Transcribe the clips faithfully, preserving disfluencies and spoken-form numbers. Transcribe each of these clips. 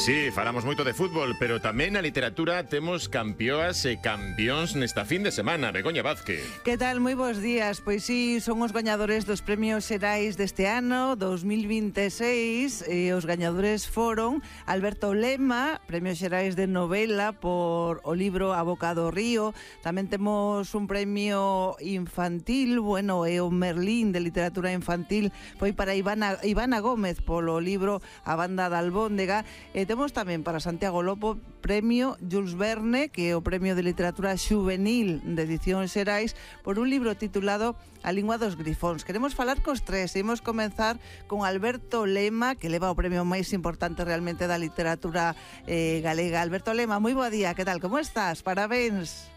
sí, falamos moito de fútbol, pero tamén na literatura temos campeoas e campións nesta fin de semana. Begoña Vázquez. Que tal? Moi bons días. Pois sí, son os gañadores dos premios xerais deste ano, dos mil vinte e seis, e os gañadores foron Alberto Lema, premios xerais de novela por o libro A Boca do Río. Tamén temos un premio infantil, bueno, e o Merlín de literatura infantil foi para Ivana, Ivana Gómez polo libro A Banda da Albóndega. E temos tamén para Santiago Lopo premio Jules Verne, que é o premio de literatura xuvenil de edición xerais por un libro titulado A Lingua dos Grifóns. Queremos falar cos tres e imos comenzar con Alberto Lema, que leva o premio máis importante realmente da literatura eh, galega. Alberto Lema, moi bo día, que tal, como estás? Parabéns.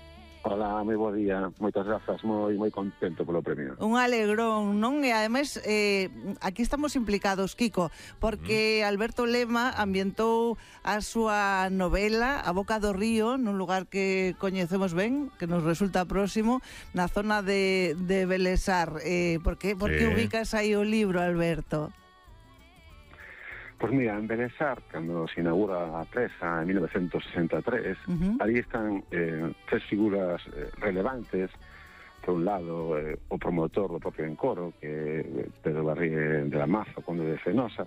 Hola, moi bo día, moitas grazas, moi moi contento polo premio. Un alegrón, non? E ademais, eh, aquí estamos implicados, Kiko, porque Alberto Lema ambientou a súa novela A Boca do Río, nun lugar que coñecemos ben, que nos resulta próximo, na zona de, de Belesar. Eh, por que, por que sí. ubicas aí o libro, Alberto? Pois mira, en Belesar, cando se inaugura a presa en mil novecientos sesenta e tres, uh-huh. ali están eh, tres figuras eh, relevantes. Por un lado, eh, o promotor do propio encoro, que é Pedro Barrié de la Maza, o conde de Fenosa.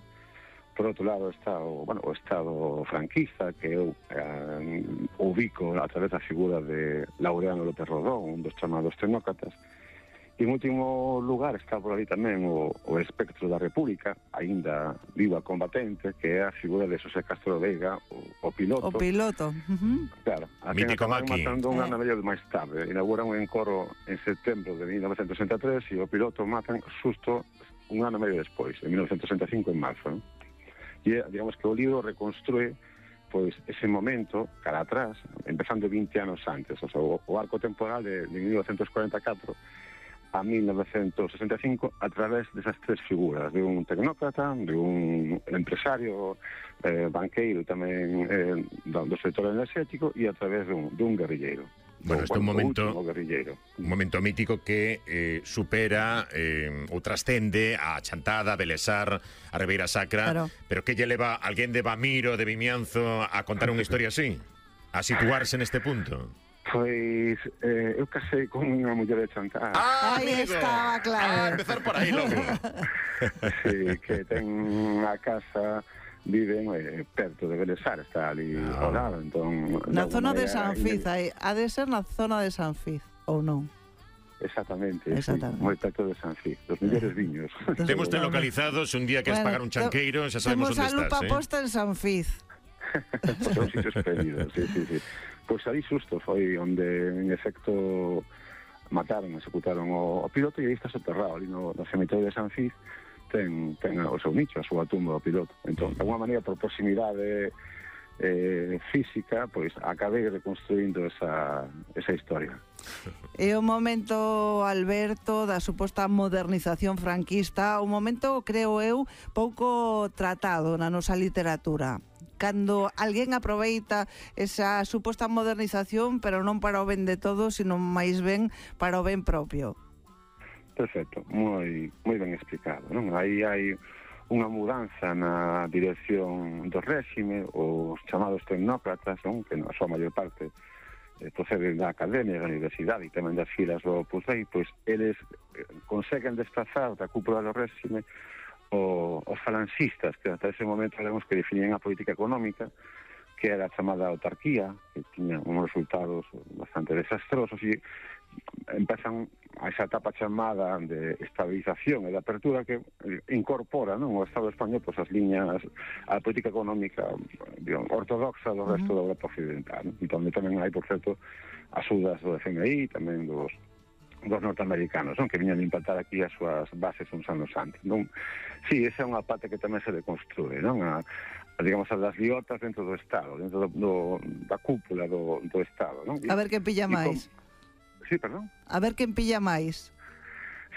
Por outro lado está o, bueno, o Estado franquista, que eu eh, ubico a través da figura de Laureano López Rodón, un dos chamados tecnócratas. E en último lugar está por ali tamén o, o espectro da República, aínda viva combatente, que é a figura de Xosé Castro Veiga, o, o piloto. O piloto. Uh-huh. Claro, a quen acabaron matando un ano medio máis tarde. Inauguran un encoro en setembro de mil novecientos sesenta e tres e o piloto matan xusto un ano medio despois, en mil novecientos sesenta e cinco, en marzo. ¿No? E digamos que o libro reconstrue pois ese momento, cara atrás, empezando vinte anos antes, o sea, o, o arco temporal de, de mil novecientos cuarenta e catro a mil novecientos sesenta e cinco a través desas tres figuras, de un tecnócrata, de un empresario eh, banqueiro tamén eh, do sector energético e a través de un, de un guerrilleiro. Bueno, este é un momento un momento mítico que eh, supera eh, ou trascende a Chantada, a Belesar, a Ribeira Sacra, claro. Pero que lle leva alguén de Bamiro, de Vimianzo a contar unha historia así? A situarse neste punto? Pois eh, eu casei con unha muller de Chantada. Ah, aí estaba, claro. Ah, empezar por aí logo. Sí, que ten a casa, viven eh, perto de Belesar, está ali ah. ao lado, entón... Na zona de San Fiz, aí, ha de ser na zona de San Fiz, ou non? Exactamente, Exactamente. Sí, moi perto de San Fiz, dos mellores viños. Temos te localizados, un día que bueno, es pagar un chanqueiro, xa sabemos onde estás. Temos a lupa eh? posta en San Fiz. Son sitios perdidos, sí, sí, sí. Pois aí xusto foi onde, en efecto, mataron, executaron o, o piloto e aí está soterrado, ali no, no cemiterio de San Fiz, ten, ten o seu nicho, a súa tumba do piloto. Entón, de alguma maneira, por proximidade eh, física, pois acabei reconstruindo esa, esa historia. É o momento, Alberto, da suposta modernización franquista, un momento, creo eu, pouco tratado na nosa literatura. Cando alguén aproveita esa suposta modernización, pero non para o ben de todos, sino máis ben para o ben propio. Perfecto, moi moi ben explicado, non? Aí hai unha mudanza na dirección do réxime, os chamados tecnócratas, non? Que na súa maior parte eh, proceden da academia, da universidade e tamén das filas do Opus Dei, pois eles conseguen desplazar da cúpula do réxime O, os falanxistas, que hasta ese momento sabemos que definían a política económica, que era a chamada autarquía, que tiña uns resultados bastante desastrosos, e empezan a esa etapa chamada de estabilización e de apertura que incorpora, non, o Estado español pois, as liñas, a política económica digamos, ortodoxa do resto uh-huh. da Europa occidental, e onde tamén hai, por certo, axudas do F M I, tamén dos dos norteamericanos, non? Que viñan a implantar aquí as súas bases uns anos antes, non? Sí, esa é unha parte que tamén se deconstrue, non? A, a digamos, as das liotas dentro do Estado, dentro do, do, da cúpula do, do Estado, non? E, a ver quen pilla máis. Com... Sí, perdón? A ver quen pilla máis.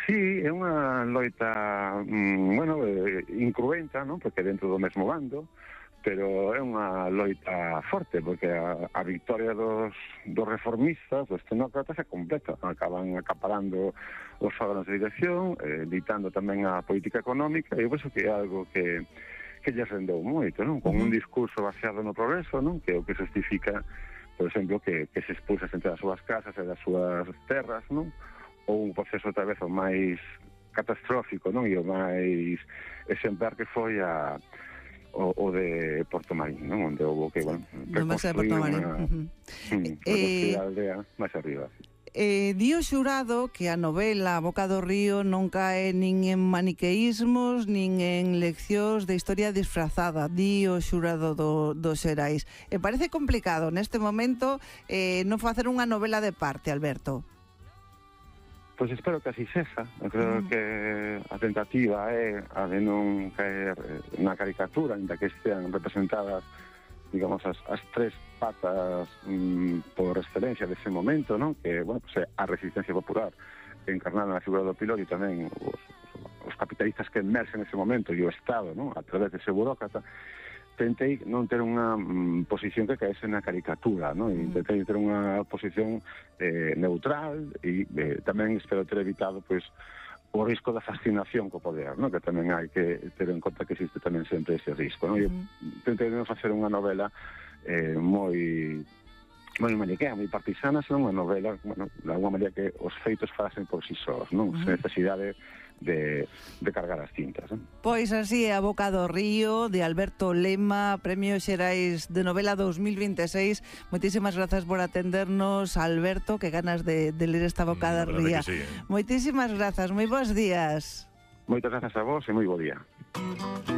Sí, é unha loita, mm, bueno, eh, incruenta, non? Porque dentro do mesmo bando, pero é unha loita forte, porque a, a victoria dos, dos reformistas, dos tecnócratas, é completa. Acaban acaparando os órganos de dirección, eh, ditando tamén a política económica, e por iso que é algo que, que que lle rendeu moito, non? Con un discurso baseado no progreso, non? Que é o que justifica, por exemplo, que, que se expulsa xente das súas casas e das súas terras, non? Ou un proceso outra vez o máis catastrófico, non? E o máis exemplar que foi a o, o de Porto Marín, non? Onde houve que, bueno, reconstruir unha, uh -huh. mm, eh, a aldea máis arriba. Eh, di o xurado que a novela A Boca do Río non cae nin en maniqueísmos nin en leccións de historia disfrazada, di o xurado do, do Xerais. E parece complicado neste momento eh, non facer unha novela de parte, Alberto. Pois espero que así sexa. Eu creo mm. que a tentativa é a de non caer na caricatura, ainda que estean representadas, digamos, as, as tres patas mm, por excelencia dese momento, non? Que, bueno, pues, a resistencia popular encarnada na figura do piloto e tamén os, os capitalistas que emerxen nese momento e o Estado, non? A través dese burócrata, tentei non ter unha mm, posición que caese na caricatura, non? E tentei ter unha posición eh, neutral e eh, tamén espero ter evitado, pois, o risco da fascinación co poder, non? Que tamén hai que ter en conta que existe tamén sempre ese risco, non? E tentei non facer unha novela eh, moi moi maniquea, moi partisana, senón unha novela, bueno, de alguma maneira que os feitos falasen por si sós, non? Sen necesidade de, de cargar as cintas, non? Pois así é A Boca do Río, de Alberto Lema, Premio Xerais de Novela dos mil veintiséis. Moitísimas grazas por atendernos, Alberto, que ganas de, de ler esta Boca do Río. Sí, eh? Moitísimas grazas, moi bons días. Moitas grazas a vos e moi bo día.